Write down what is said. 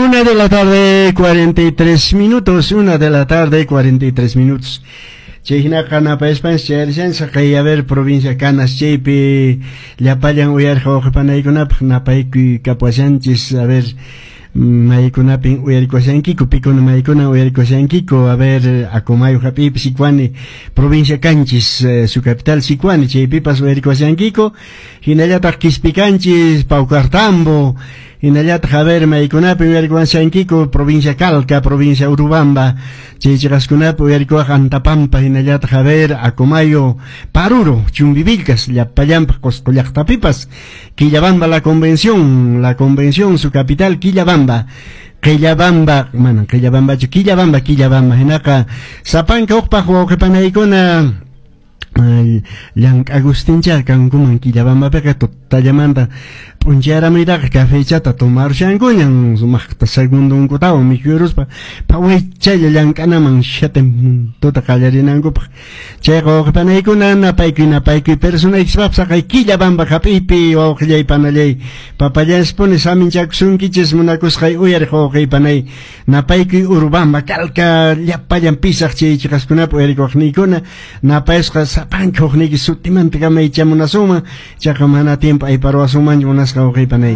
Una de la tarde, 43 minutos. Una de la tarde, 43 minutos. Chay hinaqa napayaspanchis chayarishanchis kay, a ver, provincia Canas chaypi llapallan uyariq wawqipanaykunapaq napaykuy kapuashanchis. A ver, maykunapin uyarikuashankiku, pikuna maykuna uyarikuashankiku. A ver, Acomayo hap'iypi, Sicuani, provincia Canchis, su capital Sicuani, chaypipas uyarikuashankiku. Hinallataq Quispicanchis, Paucartambo, hinallataq, a ver, maykunapi uyarikuashankiku, provincia Calca, provincia Urubamba, chay chiqaskunapi uyarikuwaq Antapampa, hinallataq, a ver, Acomayo, Paruro, Chumbivilcas, llapallanpaq Cusco llaqtapipas, Quillabamba, la Convención, la Convención, su capital Quillabamba. Quillabamba, manan Quillabambachu, Quillabamba, Quillabamba, hinaqa sapanka uqpaq wawqipanaykuna llank'a Agustincha kankuman Quillabambapiqa tutallamanta p'unchayaramuytaqa cafechata tomarushankuñan sumaqta segundunkutawan mikhuyuruspa phawaychalla llank'anaman shatin tuta qallarinankupaq. Chayqa wawqipanaykuna napaykuy napaykuy personaykispapis saqay Quillabamba hap'iypi wawqillay panallay papallanspuni saminchakusunkichis munakusqay uyariq wawqiy panay napaykuy Urubamba, Calca, llapallan pisaq chay chiqaskunapi uyarikuqniykuna napayasqa sapanka hukniyki sutimanta kamaychamunasunman, chaqa mana tiempo ayparuwasunmanchu munasqa wawqiy panay.